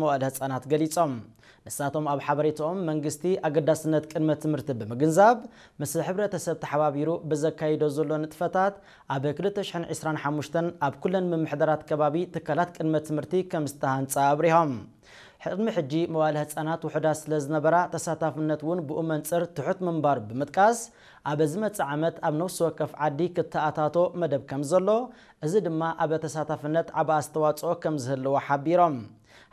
መዋእለ ህጻናት ገሊጾም። ንሳቶም ኣብ ሓበሬታኦም መንግስቲ ኣገዳስነት ቅድመ ትምህርቲ ብምግንዛብ ምስ ሕብረተሰብ ተሓባቢሩ ብዘካይዶ ዘሎ ንጥፈታት ኣብ ክልተ ሽሕን ዕስራን ሓሙሽተን ኣብ ኩለን ምምሕዳራት ከባቢ ትካላት ቅድመ ትምህርቲ ከም ዝተሃንጻ ኣብሪሆም። ቅድሚ ሕጂ መዋእለ ህጻናት ውሑዳት ስለ ዝነበራ ተሳታፍነት እውን ብኡ መንጽር ትሑት ምንባር ብምጥቃስ ኣብ ዝመጽእ ዓመት ኣብ ነፍሲ ወከፍ ዓዲ ክተኣታቶ መደብ ከም ዘሎ፣ እዚ ድማ ኣብ ተሳታፍነት ዓቢ ኣስተዋጽኦ ከም ዝህልዎ ሓቢሮም።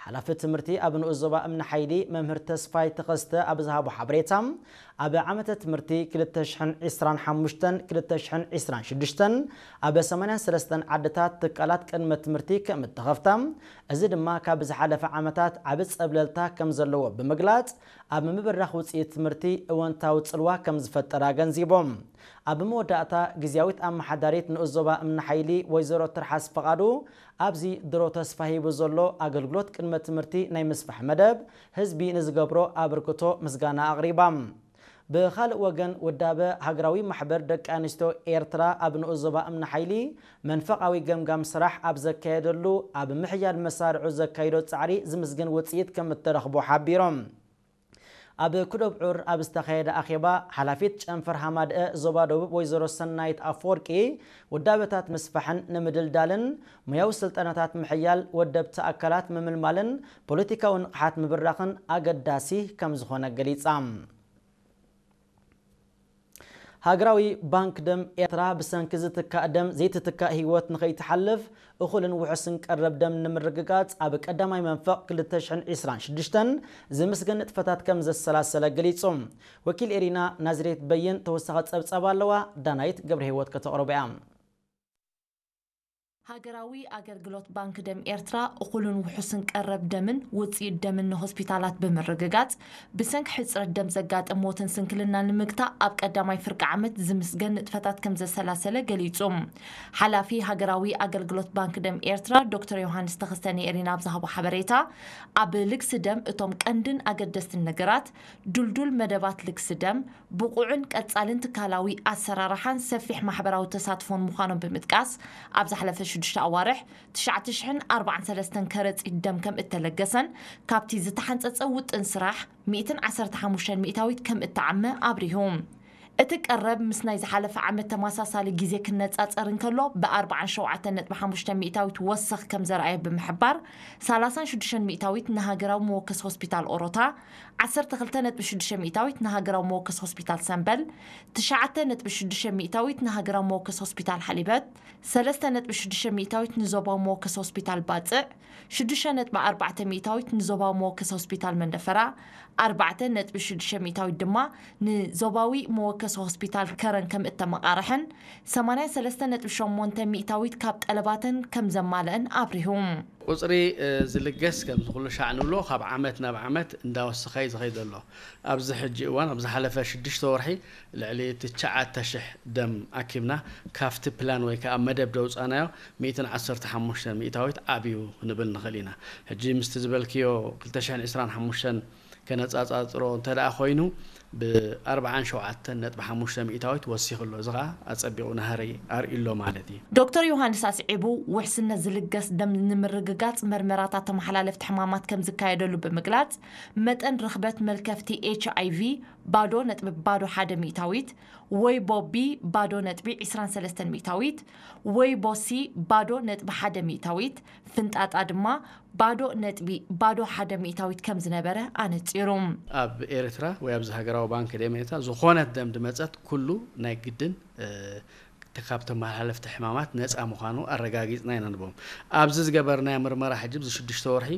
ሓላፊ ትምህርቲ ኣብ ንኡስ ዞባ እምኒ ሓይሊ መምህር ተስፋይ ተኸስተ ኣብ ዝሃቦ ሓበሬታ፣ ኣብ ዓመተ ትምህርቲ ክልተ ሽሕን ዕስራን ሓሙሽተን ክልተ ሽሕን ዕስራን ሽዱሽተን ኣብ ሰማንያን ሰለስተን ዓድታት ትካላት ቅድመ ትምህርቲ ከም እተኸፍታ፣ እዚ ድማ ካብ ዝሓለፈ ዓመታት ዓቢ ጸብለልታ ከም ዘለዎ ብምግላጽ፣ ኣብ ምብራኽ ውጽኢት ትምህርቲ እወንታዊ ጽልዋ ከም ዝፈጠረ ኣገንዚቦም። ኣብ መወዳእታ፣ ግዝያዊት ኣመሓዳሪት ንኡስ ዞባ እምኒ ሓይሊ ወይዘሮ ትርሓስ ፈቓዱ፣ ኣብዚ ድሮ ተስፋ ሂቡ ዘሎ ኣገልግሎት ቅድመ ትምህርቲ ናይ ምስፋሕ መደብ ህዝቢ ንዝገብሮ ኣበርክቶ ምስጋና ኣቕሪባ። ብኻልእ ወገን፣ ውዳበ ሃገራዊ ማሕበር ደቂ ኣንስትዮ ኤርትራ ኣብ ንኡስ ዞባ እምኒ ሓይሊ መንፈቓዊ ገምጋም ስራሕ ኣብ ዘካየደሉ፣ ኣብ ምሕያል መሳርዑ ዘካይዶ ጻዕሪ ዝምስገን ውጽኢት ከም እተረኽቦ ሓቢሮም። ኣብ ኩዶብ ዑር ኣብ ዝተኻየደ ኣኼባ፣ ሓላፊት ጨንፈር ሃማደአ ዞባ ደቡብ ወይዘሮ ሰናይት ኣፈወርቂ፣ ውዳበታት ምስፋሕን ንምድልዳልን፣ ሞያዊ ስልጠናታት ምሕያል፣ ወደብቲ ኣካላት ምምልማልን ፖለቲካዊ ንቕሓት ምብራኽን ኣገዳሲ ከም ዝኾነ ገሊጻ። ሃገራዊ ባንክ ደም ኤርትራ፣ ብሰንኪ ዝትካእ ደም ዘይትትካእ ህይወት ንኸይትሓልፍ፣ እኹልን ውሑስን ቀረብ ደም ንምርግጋጽ ኣብ ቀዳማይ መንፈቕ ክልተ ሽሕን ዕስራን ሽዱሽተን ዝምስገን ንጥፈታት ከም ዘሰላሰለ ገሊጹ። ወኪል ኤሪና ናዝሬት በይን ተወሳኺ ጸብጻብ ኣለዋ፣ ዳናይት ገብረ ህይወት ከተቕርቦ እያ። ሃገራዊ ኣገልግሎት ባንክ ደም ኤርትራ፣ እኹልን ውሑስን ቀረብ ደምን ውጽኢት ደምን ንሆስፒታላት ብምርግጋጽ፣ ብሰንኪ ሕጽረት ደም ዘጋጥም ሞትን ስንክልናን ንምግታእ ኣብ ቀዳማይ ፍርቂ ዓመት ዝምስገን ንጥፈታት ከም ዘሰላሰለ ገሊጹ። ሓላፊ ሃገራዊ ኣገልግሎት ባንክ ደም ኤርትራ ዶክተር ዮሃንስ ተኸስተ ንኤሪና ኣብ ዝሃቦ ሓበሬታ፣ ኣብ ልግሲ ደም እቶም ቀንድን ኣገደስትን ነገራት፣ ድልዱል መደባት ልግሲ ደም፣ ብቑዕን ቀጻልን ትካላዊ ኣሰራርሓን ሰፊሕ ማሕበራዊ ተሳትፎን ምዃኖም ብምጥቃስ፣ ኣብ ዝሓለፈ ሽዱሽተ ኣዋርሕ ትሽዓተ ሽሕን ኣርባዓን ሰለስተን ከረጺት ደም ከም እተለገሰን፣ ካብቲ ዝተሓንጸጸ ውጥን ስራሕ ሚእትን ዓሰርተ ሓሙሽተን ሚእታዊት ከም እተዓመ ኣብሪሁ። እቲ ቀረብ ምስ ናይ ዝሓለፈ ዓመት ተመሳሳሊ ግዜ ክነጻጸር እንከሎ፣ ብኣርባዓን ሸውዓተን ነጥቢ ሓሙሽተ ሚእታዊት ወሰኽ ከም ዘርኣየ ብምሕባር፣ ሰላሳን ሽዱሽተን ሚእታዊት ንሃገራዊ መወከሲ ሆስፒታል ኦሮታ፣ ዓሰርተ ክልተ ነጥቢ ሽዱሽተ ሚእታዊት ንሃገራዊ መወከሲ ሆስፒታል ሰምበል፣ ትሽዓተ ነጥቢ ሽዱሽተ ሚእታዊት ንሃገራዊ መወከሲ ሆስፒታል ሓሊበት፣ ሰለስተ ነጥቢ ሽዱሽተ ሚእታዊት ንዞባዊ መወከሲ ሆስፒታል ባጽዕ፣ ሽዱሽተ ነጥቢ ኣርባዕተ ሚእታዊት ንዞባዊ መወከሲ ሆስፒታል መንደፈራ፣ ኣርባዕተ ነጥቢ ሽዱሽተ ሚእታዊት ድማ ንዞባዊ መወከሲ ሆስፒታል ከረን ከም እተመቓርሐን፣ ሰማንያን ሰለስተ ነጥቢ ሸሞንተ ሚእታዊት ካብ ጠለባተን ከም ዘማልአን ኣብሪሁ። ቁጽሪ፣ እ፣ ዝልገስ ከምዚ ኩሉ ሻዕ ንብሎ ካብ ዓመት ናብ ዓመት እንዳወሰኸ እዩ ዝኸይድ ዘሎ። ኣብዚ ሕጂ እዋን፣ ኣብ ዝሓለፈ ሽዱሽተ ወርሒ ልዕሊ ትሽዓተ ሽሕ ደም ኣኪብና፣ ካብቲ ፕላን ወይ ከዓ መደብ ደውጻናዮ ሚእትን ዓሰርተ ሓሙሽተን ሚእታዊት ዓብዩ ክንብል ንኽእል ኢና። ሕጂ ምስቲ ዝበልክዮ ክልተ ሽሕን ዕስራን ሓሙሽተን ከነጻጻጽሮ እንተ ደኣ ኮይኑ፣ ብ ኣርባዓን ሸውዓተን ነጥቢ ሓሙሽተ ሚእታዊት ወሲኹ ኣሎ። እዚ ኸኣ ኣጸቢቑ ናህሪ ኣርእዩ ኣሎ ማለት እዩ። ዶክተር ዮሃንስ ኣስዒቡ፣ ውሕስነት ዝልገስ ደም ንምርግጋጽ መርመራታት ተመሓላለፍቲ ሕማማት ከም ዝካየደሉ ብምግላጽ፣ መጠን ርኽበት መልከፍቲ ኤች ኣይ ቪ ባዶ ነጥቢ ባዶ ሓደ ሚእታዊት፣ ወይቦ ቢ ባዶ ነጥቢ ዕስራን ሰለስተን ሚእታዊት፣ ወይቦ ሲ ባዶ ነጥቢ ሓደ ሚእታዊት፣ ፍንጣጣ ድማ ባዶ ነጥቢ ባዶ ሓደ ሚእታዊት ከም ዝነበረ ኣነጺሩ። ኣብ ኤርትራ ወይ ኣብዚ ሃገራዊ ባንክ ደም ኤርትራ ዝኾነት ደም ድመጸት ኩሉ ናይ ግድን፣ እ፣ ካብ ተመሓላለፍቲ ሕማማት ነጻ ምዃኑ ኣረጋጊጽና ኢና ንቦም። ኣብዚ ዝገበርናዮ ምርመራ ሕጂ፣ ኣብዚ ሽዱሽተ ወርሒ፣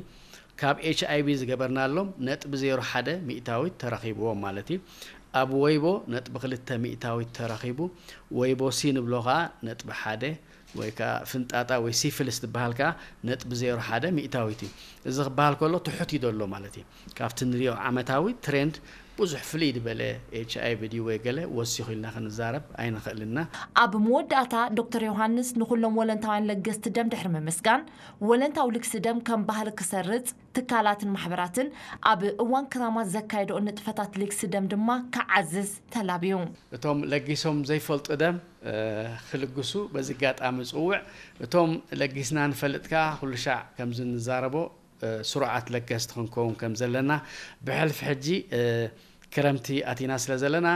ካብ ኤች ኣይ ቪ ዝገበርናሎም ነጥቢ ዜሮ ሓደ ሚእታዊት ተረኺብዎም ማለት እዩ። ኣብ ወይቦ ነጥቢ ክልተ ሚእታዊት ተረኺቡ፣ ወይቦ ሲ ንብሎ ኸኣ ነጥቢ ሓደ ወይ ከኣ ፍንጣጣ ወይ ሲፊሊስ ዝበሃል ከኣ ነጥቢ ዜሮ ሓደ ሚእታዊት እዩ። እዚ ክበሃል ከሎ ትሑት እዩ ዘሎ ማለት እዩ። ካብቲ ንሪኦ ዓመታዊ ትሬንድ ብዙሕ ፍልይ ዝበለ ኤች ኣይ ቪ ድዩ ወይ ገለ ወሲኹ ኢልና ክንዛረብ ኣይንኽእልና። ኣብ መወዳእታ ዶክተር ዮሃንስ ንኹሎም ወለንታውያን ለገስቲ ደም ድሕሪ ምምስጋን፣ ወለንታዊ ልግሲ ደም ከም ባህሊ ክሰርጽ፣ ትካላትን ማሕበራትን ኣብ እዋን ክራማት ዘካየድኦ ንጥፈታት ልግሲ ደም ድማ ክዓዝዝ ተላብዩ። እቶም ለጊሶም ዘይፈልጡ ደም፣ እ፣ ክልግሱ በዚ ኣጋጣሚ ጽውዕ። እቶም ለጊስና ንፈልጥ ከኣ ኩሉ ሻዕ ከምዚ ንዛረቦ ስሩዓት ለገስቲ ክንከውን ከም ዘለና፣ ብሕልፊ ሕጂ ክረምቲ ኣቲና ስለ ዘለና፣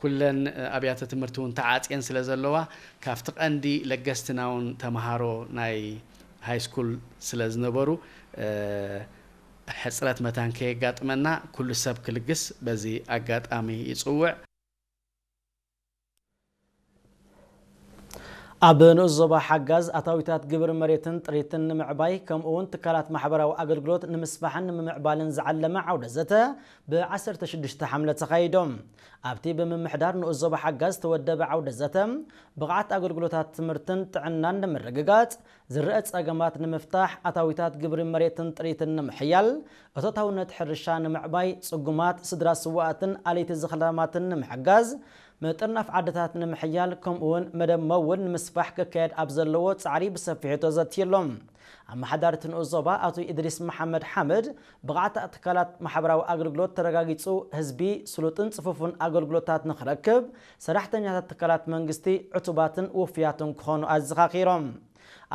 ኩለን ኣብያተ ትምህርቲ እውን ተዓፅየን ስለ ዘለዋ፣ ካብቲ ቀንዲ ለገስትና እውን ተምሃሮ ናይ ሃይስኩል ስለ ዝነበሩ፣ ሕፅረት መታን ከየጋጥመና ኩሉ ሰብ ክልግስ በዚ ኣጋጣሚ ይፅውዕ። ኣብ ንኡስ ዞባ ሓጋዝ ኣታዊታት ግብሪ መሬትን ጥሪትን ንምዕባይ፣ ከምኡ እውን ትካላት ማሕበራዊ ኣገልግሎት ንምስፋሕን ንምምዕባልን ዝዓለመ ዓውደ ዘተ ብ ዓሰርተ ሽዱሽተ ሓምለ ተኻይዶም። ኣብቲ ብምምሕዳር ንኡስ ዞባ ሓጋዝ ዝተወደበ ዓውደ ዘተ፣ ብቕዓት ኣገልግሎታት ትምህርትን ጥዕናን ንምርግጋጽ፣ ዝረአ ጸገማት ንምፍታሕ፣ ኣታዊታት ግብሪ መሬትን ጥሪትን ንምሕያል፣ እቶታውነት ሕርሻ ንምዕባይ፣ ጽጉማት ስድራ ስዋኣትን ኣለይቲ ዝኽላማትን ንምሕጋዝ፣ ምጥርናፍ ዓድታት ንምሕያል፣ ከምኡውን መደብ መውን ንምስፋሕ ክካየድ ኣብ ዘለዎ ጻዕሪ ብሰፊሑ ተዘትየሎም። ኣመሓዳሪ እቲ ንኡስ ዞባ ኣቶ ኢድሪስ መሓመድ ሓምድ፣ ብቕዓት ትካላት ማሕበራዊ ኣገልግሎት ተረጋጊጹ፣ ህዝቢ ስሉጥን ጽፉፍን ኣገልግሎታት ንኽረክብ፣ ሰራሕተኛታት ትካላት መንግስቲ ዕቱባትን ውፍያትን ክኾኑ ኣዘኻኺሮም።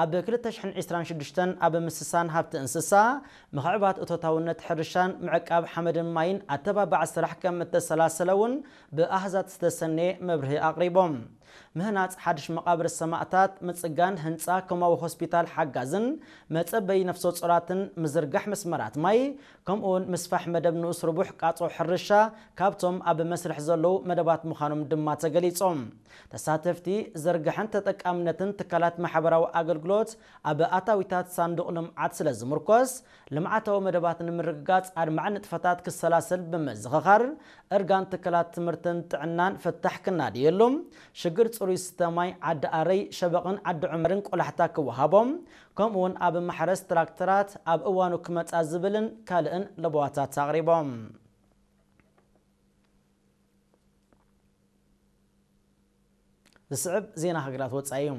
ኣብ ክልተ ሽሕን ዕስራን ሽዱሽተን ኣብ ምስሳን ሃብቲ እንስሳ፣ ምኽዕባት እቶታውነት ሕርሻን ምዕቃብ ሓመድን ማይን ኣተባባዕ ስራሕ ከም እተሰላሰለ እውን ብኣሃዛት ዝተሰነየ መብርሂ ኣቕሪቦም። ምህናጽ ሓድሽ መቓብር ሰማእታት፣ ምጽጋን ህንጻ ኮማዊ ሆስፒታል ሓጋዝን መጸበዪ ነፍሰ ጾራትን ምዝርጋሕ መስመራት ማይ፣ ከምኡውን ምስፋሕ መደብ ንኡስ ርቡሕ ቃጾ ሕርሻ ካብቶም ኣብ መስርሕ ዘለዉ መደባት ምዃኖም ድማ ተገሊጾም። ተሳተፍቲ፣ ዝርግሐን ተጠቃምነትን ትካላት ማሕበራዊ ኣገልግሎት ኣብ ኣታዊታት ሳንዱቕ ልምዓት ስለ ዝምርኮስ፣ ልምዓታዊ መደባት ንምርግጋጽ ኣድማዒ ንጥፈታት ክሰላሰል ብምዝኽኻር፣ እርጋን ትካላት ትምህርትን ጥዕናን ፍታሕ ክናድየሉ፣ ሽግር ጽሩይ ስተ ማይ ዓዲ ኣረይ፣ ሸበቕን ዓዲ ዑመርን ቆላሕታ ክወሃቦም፣ ከምኡውን ኣብ ማሕረስ ትራክተራት ኣብ እዋኑ ክመጻ ዝብልን ካልእን ለበዋታት ኣቕሪቦም። ዝስዕብ ዜና ሃገራት ወጻኢ እዩ።